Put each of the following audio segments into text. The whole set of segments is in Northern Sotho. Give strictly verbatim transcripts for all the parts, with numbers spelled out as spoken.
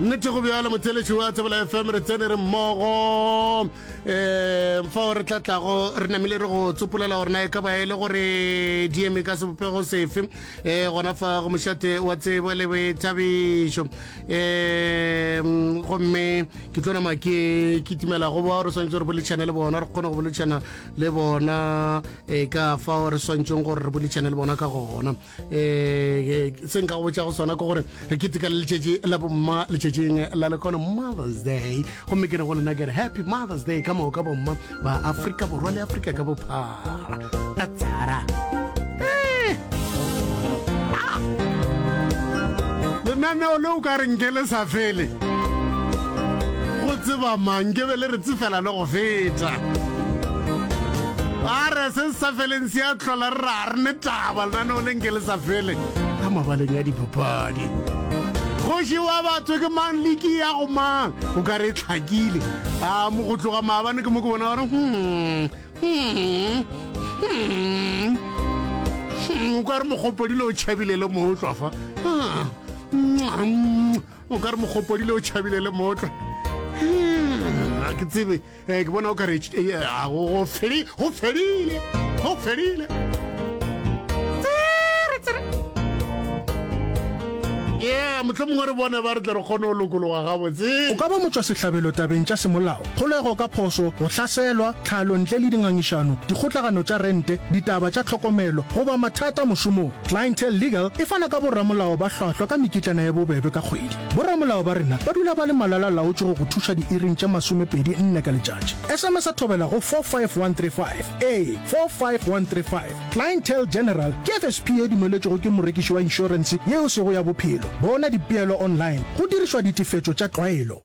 Nnete go bjalo, motheeletši wa Thobela F M, re tsene re mmogo um fao re tla tlago re namile re go tsopolela gore na e ka ba e le gore di eme ka sebopego sefe um gona fa go mošate wa tsebo le boithabišo. um gomme ke tlo nama ke kitimela go bao re swanetše re boledišane le bona, re kgone go boledišana le bona um ka fao re swanetšeng gore re boledišane le bona ka gona. um se nka go botša go sona ke gore re keteka le letšatši la bomma letšatšing la lekono, Mother's Day, gomme ke re go lena ke re happy Mother's Day ka moka bomma ba Afrika Borwa le Afrika ka bophara. Tatsara. Eh! Ah! Lenaneo le o ka re nke le sa fele, go tseba mang ke be le re tsefela le go feta. A re se se sa feleng se a tlhola, re ra re ne taba lenaneo le nke le sa fele ka mabaleng a dipapadi. Kgoši wa batho ke mang, liki ya go mang, o ka re e tlhakile a mo go tloga maabane, ke mo ke bona gore hmm, hmm, hmm, hmm, o ka re mogopodile o tšhabile le mootlwa fa. Ah, mm, o ka re mogopodile o tšhabile le mootlwa. Hmm, a ke tsebe, eh, ke bona o ka re eh, a, go go fedi- go fedile, go fedile. Tsere, tsere. Yeah, mohlomongwe re bone ba re tle re kgone go lokologa gabotse. O ka ba motšwasehlabelo tabeng tša semolao, kgolego ka phošo, go hlaselwa, tlhalo ntle le dingangišano, dikgotlagano tša rente, ditaba tša tlhokomelo, goba mathata mošomong. Clientele Legal e fana ka boramolao ba hlwahlwa ka mekitlana ya bobebe ka kgwedi. Boramolao ba rena ba dula ba le malala-laotšwe go go thuša diiring tše masomepedi nne ka letšatši. S M S a thobela go four five one three five, ee, four five one three five. Clientele General ke F S P ye dumeletšwego ke morekiši wa inšorense yeo sego ya bophelo. Bona dipeelo online go dirišwa ditefetšo tša tlwaelo.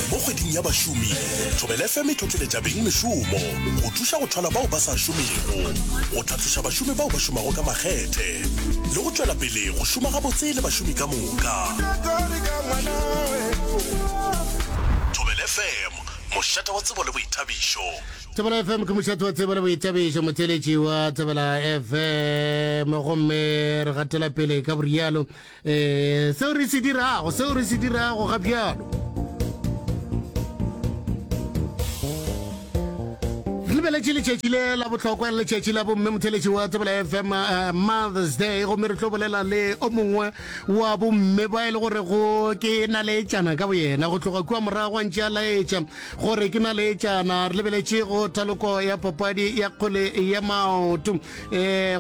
Mo kgweding ya bašomi, Thobela F M e tlotleletša beng mešomo go thuša go thwala bao ba sa šomego, go tlhatloša bašomi bao ba šomago ka makgethe, le go tšwela pele go šoma gabotse le bašomi ka moka. Thobela F M, mošate wa tsebo le boithabišo. Thobela F M ke mošate wa tsebo le boithabišo, motheeletši wa Thobela F M, gomme re gatela pele ka borialo um seo re se dirago seo re se dirago ga bjalo. Re lebeletše letšatši le la bohlokwa, letšatši la bomme, motheletši wa Thobela F M, uh, Mother's Day, gomme re tlo bolela le o mongwe wa bomme ba e le gore go ke naleetšana ka boyena go tloga kua morago a ntše a laetša gore ke naleetšana. Re lebeletše go thaloko ya papadi ya kgwele ya maoto, um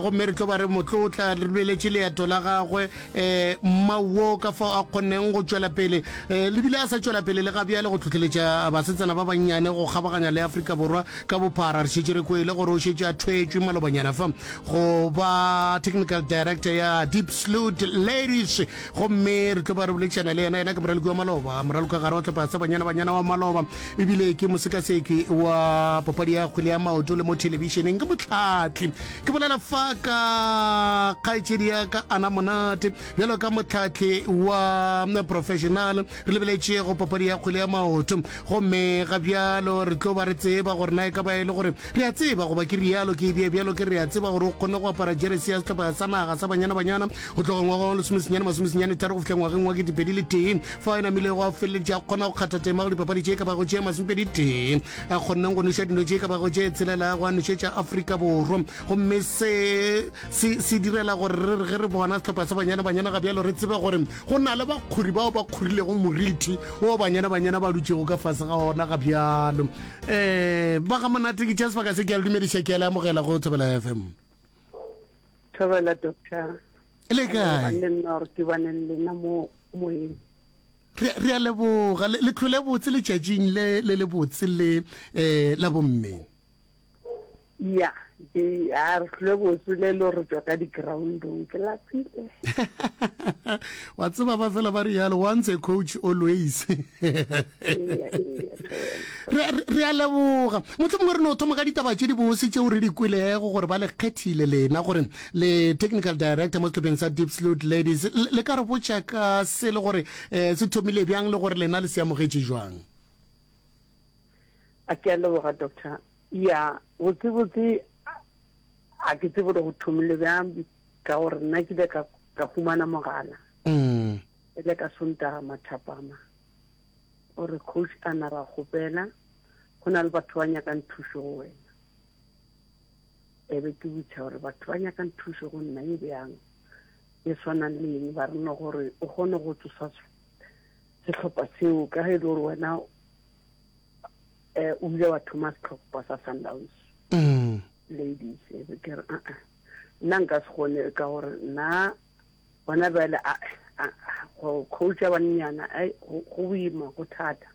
gomme re tlo ba re motlotla re lebeletše leeto la gagwe, um mmauo ka fao a kgonneng go tšwela pele, um lebile a sa tšwela pele le ga bjale go tlhotlheletša basetsana ba bannyane go kgabaganya le Afrika Borwa ka bophara. Re šetše re kwele gore o šetše a thwetšwe malobanyana fa go ba technical director ya Diepsloot Ladies, gomme re tlo ba re boledišana le yena. Yena ke moraloki wa maloba, moraloki gare wa tlhopha sa Banyana Banyana wa maloba, ebile ke mosekaseki wa papadi ya kgwele ya maoto le mo thelebišeneng ke motlhatli. Ke bolela fa ka kgaetšedi ya ka Ana Monate, bjalo ka motlhatli wa professional re lebeletše go papadi ya kgwele ya maoto, gomme ga bjalo re tlo ba re tseba gore na e ka ba e le gore re a tseba, goba ke rialo ke ebie bjalo ke re a tseba gore o kgone go apara jeresi ya sehlopha sa naga sa Banyana Banyana go tloga ngwaga wa lesomesenyane masomesenyane tharo go fihla ngwageng wa ketepedi le tee, fa e namilego a feleletše a kgona go kgatha tema go dipapadi tše ka bago tše masomepedi tee, a kgonneng go noša dino tše ka bago tše tshelela go a nošetša Afrika Borwa. Gomme se se se direla gore re re ge re bona sehlopha sa Banyana Banyana ga bjalo, re tsebe gore go na le bakgori bao ba kgorilego moriti wo Banyana Banyana ba dutšego ka fase ga ona ga bjalo. um ba ga Monate, ke tšea sebaka se ke a le dumediša, ke a le amogela go Thobela F M. Thobela, doctor. Le kae? Le nna gore ke bane le lena mo moyeng. re re a leboga. le le tlhole botse letšatšing le le le botse le um la bomme. Ya, ke a re tlhole botse le le re tswa ka di-groundong, ke lapile. Wa tseba ba fela ba rialo, once a coach, always. Eya, eya, thobela. re re a leboga. Motlho mongwe re no thoma ka ditaba tše di bose tšeo re di kwelego gore ba le kgethile lena gore le technical director mo sehlopheng sa Diepsloot Ladies. Le le ka re botša ka se le gore um se thomile bjang le gore lena le se amogetše jwang? A ke a leboga, doctor. Ya, botse botse a ke tsebe gore go thomile bjang, ka gore nna ke ile ka Ka humana mogala. Mm. E le ka Sontaga mathapama. O re coach a na ra kgopela go na le batho ba nyakang thušo go wena. E be ke botša gore batho ba nyakang thušo go nna e bjang e swanang le eng ba re no gore o kgone go tsosa sehlopha seo ka ge e le gore wena um o ile wa thoma sehlopha sa Sundowns Mm. ladies e be ke re aa nna nka se kgone ka gore nna gona bjale go coacha bannyana ai go boima go thata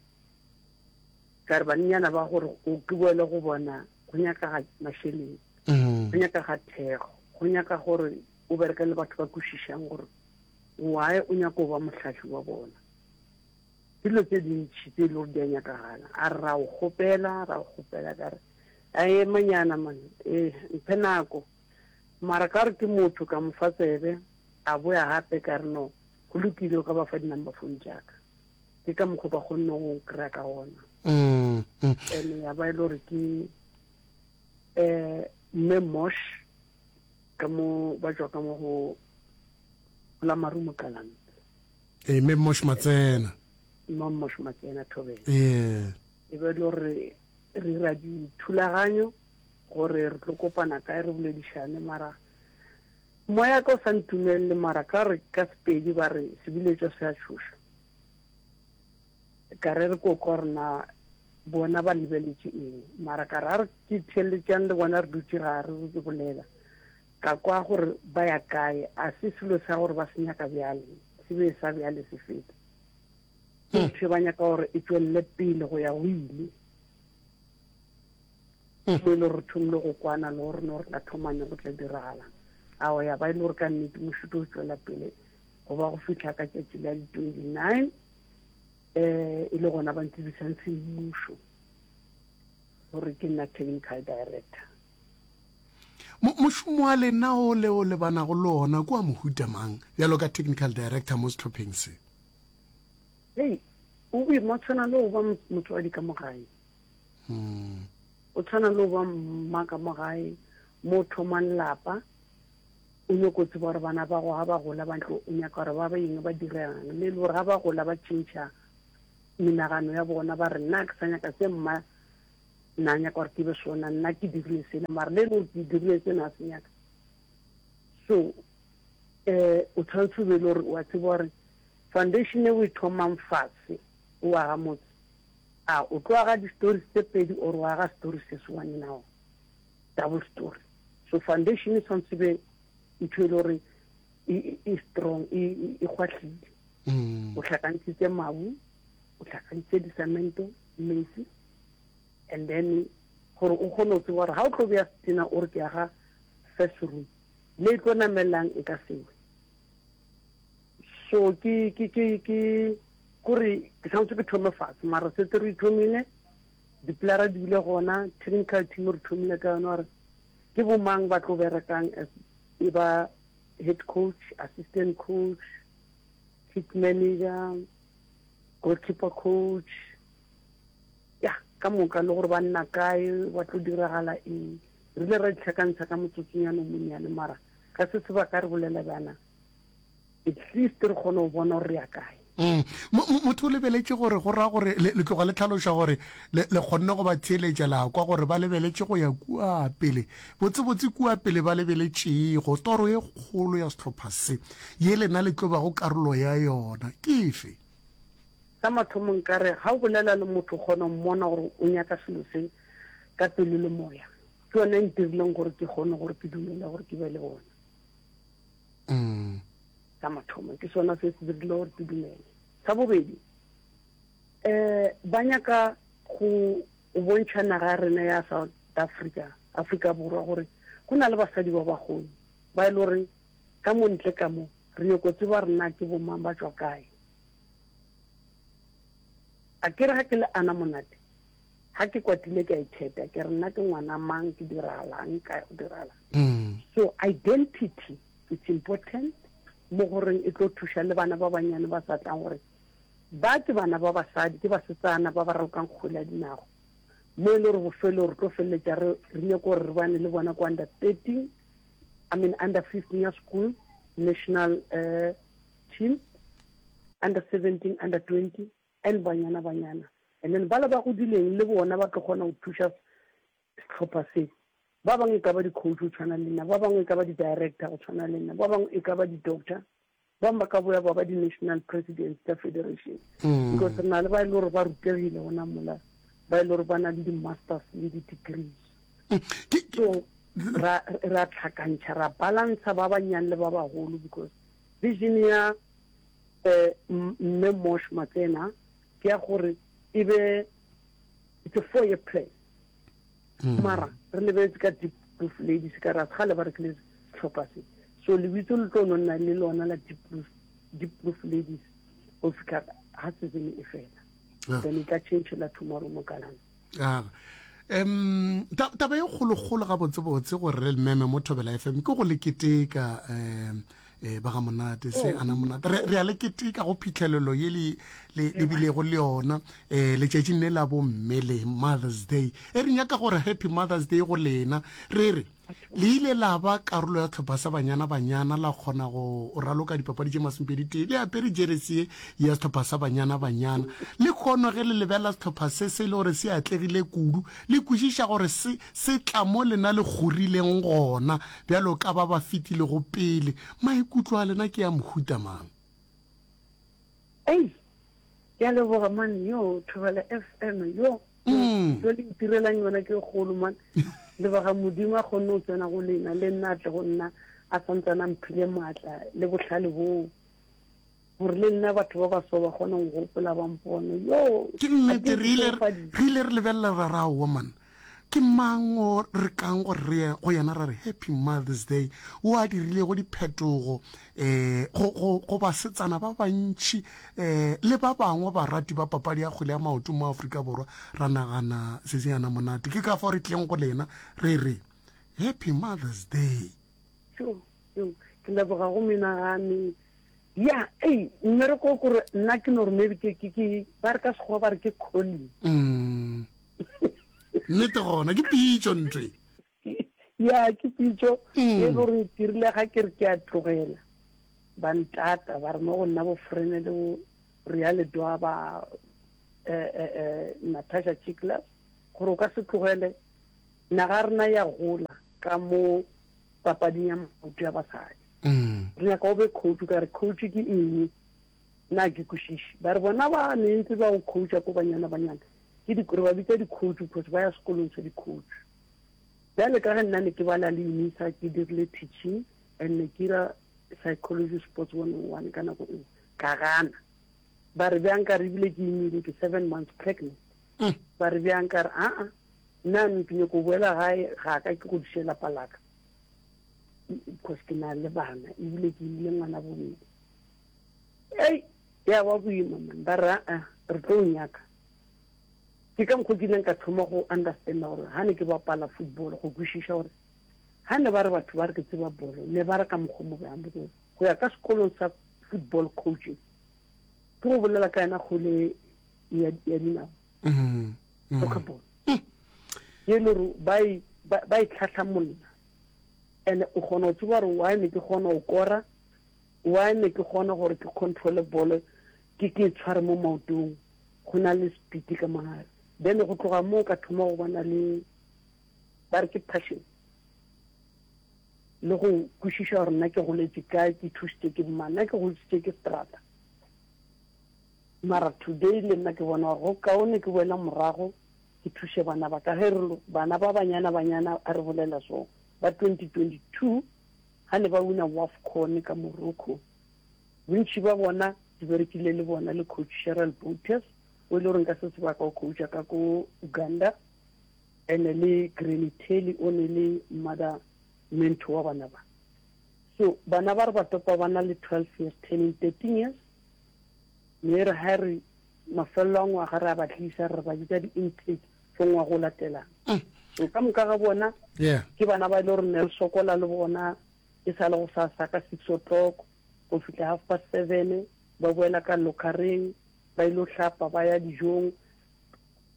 ka re bannyana ba gore o ke boele go bona go nyaka mašeleng Mm. go nyaka ga thekgo go nyaka gore o bereke le batho ba kwešišang gore why o nyaka go ba mohlahli wa bona dilo tse dintšhi tse e le gore di a nyakagala a re ra o kgopela ra o kgopela ka re a emanyana man ee mphe nako mara ka re ke motho ka mo fa tsebe a boya gape ka re no go lokile o ka ba fa di-number phone jaaka ke ka mokgwa ba kgonne go kry-a ka gona Mm. Mm. ene ya ba e le gore ke um mme mosh ka mo ba tswa ka mo go la marumo kalang ee mme mosh matsena mme mosh matsena thobela ee e be e le gore re dira dithulaganyo gore re tlo kopana kae re boledišane mara moya ka o sa ntumelele mara ka re ka sepedi ba re sebiletšo se a tšhoša ka re re ko kwa rena bona ba lebeletše eng mara ka re a re ke theeletšang le bona re dutše ga re ke bolela ka kwa gore ba ya kae a se selo sa gore ba se nyaka bjale se be sa bjale se feta ke ntho e ba nyaka gore e tswelele pele go ya go ile mo e le gore re thomile go kwana le gore no re tla thomane go tla diragala ao ya ba e le gore ka nnete mošuto o tswela pele go ba go fitlha ka tšatši la di-twenty nine um e le gona ba ntsebisang semmušo gore ke nna technical director Mo- mošomo wa lena o le o lebanago le ona ke wa mohuta mang bjalo ka technical director mo sehlopheng se hei o boima o tshwana le go ba motswadi ka mo gae Mm. o tshwana le go ba mma ka mo gae mo o thomang lapa o nyako tseba gore bana ba go ga ba gola ba ntlo o nyaka gore ba ba eng ba dirang le le gore ga ba gola ba tšhentšha menagano ya bona ba re nna ke sa nyaka se mma nna nyaka gore ke be sona nna ke dirile sena mara le le gore ke dirile sena a se nyaka so um o tshwanetse o be le gore wa tseba gore foundation e o e thomang fatshe o aga motse a o tlo aga di-stories tse pedi or o aga story se se one now double story so foundation e tshwanetse be ntho e le gore e e strong e e kgwahlile Mm. o tlhakantshitse mabu o tlhakantshitse disamento metsi and then gore o kgone go tseba gore ga o tlo beya setena o re ke aga first room le e tlo namelang e ka sewe so ke ke ke ke kore ke tshwanetse ke thome fatshe mara setse re ithomile dipilara di bile gona technical team re thomile ka yone gore ke bomang ba tlo berekang as e ba head coach assistant coach kit manager goalkeeper coach ya ka moka le gore ba nna kae ba tlo diragala eng re ile ra ditlhakantsha ka motsotsonyana o monnyane mara ka se sebaka re bolela bjana at least re kgone go bona gore re ya kae Mm. Mo- mo- motho o lebeletše gore go raya gore le le tloga le tlhaloša gore le le kgonne go ba theeletša la kwa gore ba lebeletše go ya kua pele botsebotse kua pele ba lebeletšego toro e kgolo ya sehlopha se ye lena le tlo bago karolo ya yona ke efe sa mathomo nkare ga o bolela le motho o kgona go mmona gore o nyaka selo se ka pelo le moya ke yone e ntirileng gore ke kgone gore ke dumele gore ke be le bona mm. sa mathomo ke sona se se dirile gore ke dumele sa bobedi um ba nyaka go go bontšha naga ya rena ya south africa africa borwa gore go na le basadi ba bagolo ba e le gore ka mo ntle ka mo re nyako tseba rena ke bomang ba tswa kae a ke re ga ke le ana monate ga ke kwatile ke a itheta ke re nna ke ngwana mang ke diragalang kae go diragalang Mm. so identity it's important mo goreng e tlo thuša le bana ba banyane ba sa tlang gore ba ke bana ba basadi ke basetsana ba ba ralokang kgwele ya dinago mo e le gore bofelo re tlo feleletša re re nyako gore re bane le bona ko under thirteen i mean under fifteen ya school national uh, team under seventeen under twenty and banyana banyana and then bala ba godileng le bona ba tlo kgona go thuša sehlopha se ba bangwe e ka ba di-coach go tshwana le nna ba bangwe e ka ba di-director go tshwana le nna ba bangwe e ka ba di-doctor ba bangwe ba ka boya ba ba di-national presidents tsa federation Mm. because re na le ba e le gore ba rutegile gona mola ba e le gore ba na le di-masters le di-degrees Mm. Ke- ke- so ra ra tlhakantšha ra balantsha ba banyane le ba bagolo because vision ya um mme Mosh Matsena ke ya gore e be it's a four year plan Mm. mara re lebeletse ka Diepkloof Ladies ka ra gale ba rekile setlhopha se so lebitso le tlo no nna le lona la Diepkloof Diepkloof Ladies go fitlha ha season e fela Ah. then e tla changela tomorrow mo kalana Ah. um ta- taba e kgolokgolo gabotsebotse gore re lememe mo thobela fm ke go le keteka um eh, ba ga monate se ana monate re re a le keteka go phitlhelelo ye le le le bilego le yona um letšatšing le la bomme le mothers day e re nyaka gore happy mothers day go lena re re le ile la ba karolo ya tlhopha sa banyana banyana la kgona go raloka dipapadi tše masomepedi tee le apere jeresi ye ya setlhopha sa banyana banyana le kgono ge le lebelela setlhopha se se e le gore se atlegile kudu le kwešiša gore se se tla mo lena le gorileng gona bjalo ka ba ba fetilego pele maikutlo a lena ke ya mohuta mang ei ke a leboga man yo thobela f m yo Mm. yo le ntirelang yona ke kgolo man leboga modimo a kgonne go tsena go lena le nna a tle go nna a santsane a mphile maatla le botlhale boo gore le nna batho ba baso ba kgone go gopola ba mpone yo ke nnete a ke re ile itsofaditse. re ile re lebelela ra ra oa man ke mang o re kang gore re ye go yena ra re happy mothers day o a dirilego diphetogo um go go- go basetsana ba bantšhi um le ba bangwe barati ba papadi ya kgwele ya maoto mo aforika borwa ra nagana se se yana monate ke ka fao re tleng go lena re re happy mothers day Yo, yo, ke leboga go menagane ya ei mmereko o kore nna ke no gore maybe ke ke ke ba re ka sekgowa ba re ke calling Mm. nnete gona ke pitso ntwe ya ke pitso Mm. e le gore ke rile ga ke re ke a tlogela ba ntata ba re mo go nna bo frene le bo rea ledoa ba eh, eh, eh, natasha chiclas gore o ka se tlogele naga rena ya gola ka mo papading ya maoto ya basadi Mm. re nyaka o be coach ka re coach ke eng nna ke kwešiše ba re bona ba ne ntse ba go coacha ko banyana banyana ke di re ba bitsa di-coach because ba ya sekolong sa di-coach bjale ka ge nna ne ke bala le unisa ke dirile teaching and ne ke ira psychology sports one oh one ka nako eo ka gana ba re bjang ka re ebile ke imile ke seven months pregnant Mm. ba re bjang ka re aa nna ke nyako boela gae ga ka ke godiše lapa laka because ke na le bana ebile ke imile ngwana bobedi ei ya ba boima man ba re aa re tlo o nyaka ke ka mokgwa ke ileng ka thoma go understanda gore ga ne ke bapala football go kwešiša gore ga ne ba re batho ba re ke tseba bolo ne ba re ka mokgwa mo bjang because go ya ka sekolong sa football coaching ke go bolela ka yena kgole ya ya dinao Mm. Mm. soccer ball ye le gore ba e- ba ba e tlhatlhamolla and o kgona go tseba gore why ne ke kgona go kora why ne ke kgona gore ke controle bolo ke ke e tshware mo maotong go na le speed ka mogare then go tloga moo ka thoma go bona le ba re ke passion le go kwešiša gore nna ke goletse kae ke thusitse ke mang nna ke godisitse ke strata mara today le nna ke bona gore go kaone ke boela morago ke thuse bana ba ka ge re lo- bana ba banyana banyana a re bolela so ba twenty twenty two ga ne ba wina wafcon ka morocco bontši ba bona di berekile le bona le coach cheryl botes o e le goreng ka se sebaka o coacha ka ko uganda and le granny telly o ne le mother mentor wa bana ba so bana ba re ba topa ba na le twelve years turning thirteen years mme re ha re mafelelo a ngwaga re a ba tlisa re ba bitsa di-intake for ngwaga o latelang Mm. so ka moka ga bona yeah ke bana ba e le gore ne re sokola le bona e sa le go sasa ka six o'clock go fitlha half past seven ba boela ka locareng ba ile go hlapa ba ya dijong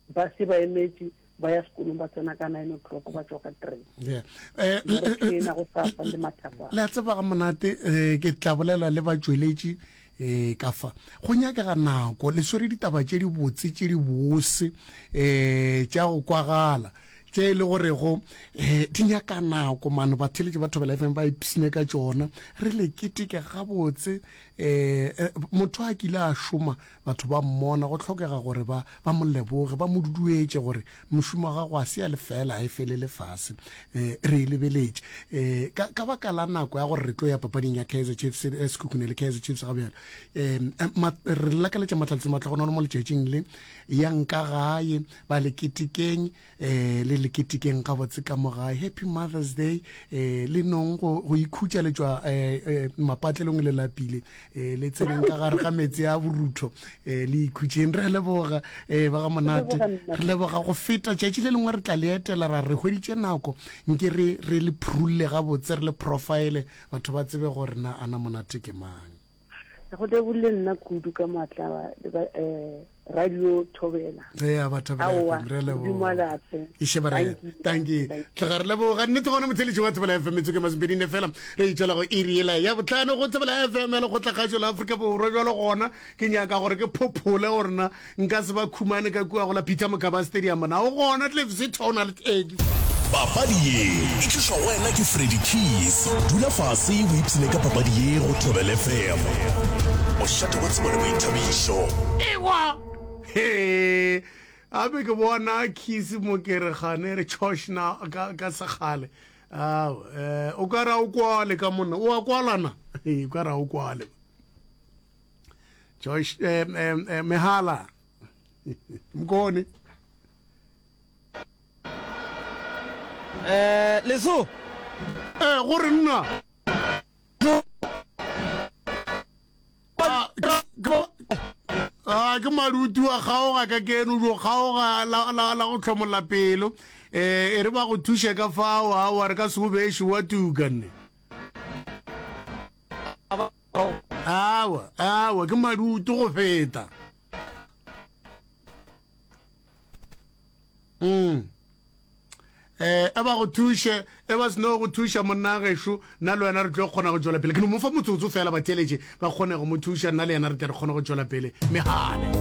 ba se ba emetse Ba ya sekolong ba tsena ka nine o'clock ba tšwa ka three. Yeah. Eh, Mara ke ena go sasa le mathapama. Le a tseba ga monate eh, ke tla bolela le batšweletši eh, ka fa go nyakega nako le swere ditaba tše dibotse tše dibose eh, tša go kwagala tše e le gorego eh, di nyaka nako mane batheletši ba Thobela F M ba ipsine ka tšona re le keteke gabotse eh, eh, motho a kile a šoma batho ba mmona go hlokega gore ba ba mo leboge ba mo duduetše gore mošomo wa gago a se ya lefela a e felele fase eh, re e lebeletše eh, ka, ka baka la nako ya gore re tlo ya papading ya Kaizer Chiefs eh, Sekhukhune le Kaizer Chiefs ga bjalo eh, ma, re lakaletša Mahlatse Matlhogonolo mo letšatšing le yang ka gae ba le ketekeng eh, le le ketekeng gabotse ka mo gae happy Mother's Day eh, le nong go, go ikhutša le tšwa eh, eh, mapatlelong le lapile eh, le tseneng ka gare ga metsi a borutho eh, le ikhutšeng re leboga eh, ba ga monate re leboga go feta tšatši le lengwe re tla le etela ra re hweditše nako nke re re le phurulle gabotse re le profile batho ba tsebe gore na ana monate ke mang. Go lebolle nna kudu ka maatla eh, radio Thobela. Ea ba Thobela Aowa, F M, re Modimo leboga. a le atle. Iše ba re Thank you. thank you. Tloga re leboga nnete gona motheletši wa Thobela F M metsotso ke masomepedi nne fela re itšwela go iri yela ya botlhano go Thobela F M ya lekgotlakgašo la Afrika Borwa. Bjalo gona ke nyaka gore ke phophole gore na nka se ba khumane ka kua go la Peter Mokaba Stadium na o gona Cliff Sitho o na le teki. Papadi ye e tlišwa go wena ke Freddy Keys. Dula fase o ipshine ka papadi ye go Thobela F M. Mošate wa tsebo le boithabišo. Ewa! He! Gape ke bona Keys mo ke re gane re chosh na ka, ka sekgale. Ao, eh, o ka ra o kwale ka monna. O a kwala na? He, o ka ra o kwale. Josh, eh, eh, eh, Mehala. Mkone. Eh, leso. Eh, gore nna. Ah, ah, ke maruti wa kgaoga ka keno jo kgaoga la, la, la go hlomolla pelo. Eh, e re ba go thuše ka fao, aowa re ka se o beše wa tuka nne. Aowa, aowa, ke maruti go feta. Mm. Eh, e ba go thuše, e ba seno go thuša monna gešo, nna le wena re tlo kgona go tšwela pele. Ke no mo fa motsotso fela batheeletše ba kgone go mo thuša, nna le yena re tle re kgone go tšwela pele. Megale.